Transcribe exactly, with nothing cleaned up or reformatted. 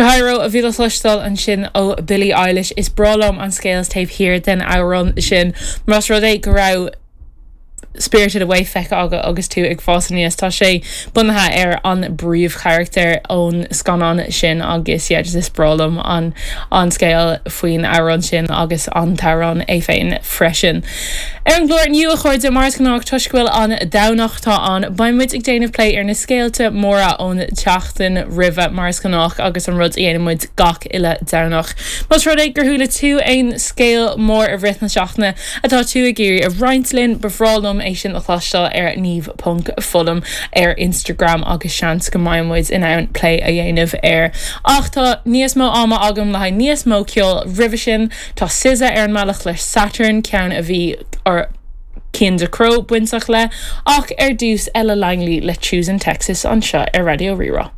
Chihiro a bhí le cloisteáil ansin ó Billie Eilish is breá liom an scéal taobh thiar den amhrán sin más rud é go raibh Spirited Away feicthe agat agus tú ag fás aníos tá sé bunaithe ar an bpríomhcharachtar ón scannán sin agus yeah, just is breá liom an an scéal faoin amhrán sin agus an t-amhrán é féin freisin. Ar an gclár inniu a chairde mar is gnách toisc go bhfuil an Domhnach atá ann, beidh muid ag déanamh plé ar na scéalta móra ón tseachtain roimhe mar is gnách agus an rud a dhéanann muid gach uile Domhnach. Más rud é gur chuala tú aon scéal mór i rith na seachtaine atá tú ag iarraidh a roinnt linn ba bhreá liom é sin a chloisteáil ar niamh.fullam ar Instagram agus seans go mbeidh muid in ann plé a dhéanamh air. Ach tá níos mó ama agam le haghaidh níos mó ceoil roimhe sin tá SZA ar an mbealach le Saturn ceann a bhí ar Cian Ducrot bainteach le ach ar dtús Ella Langley le Choosing Texas anseo ar Raidió Rí-Rá.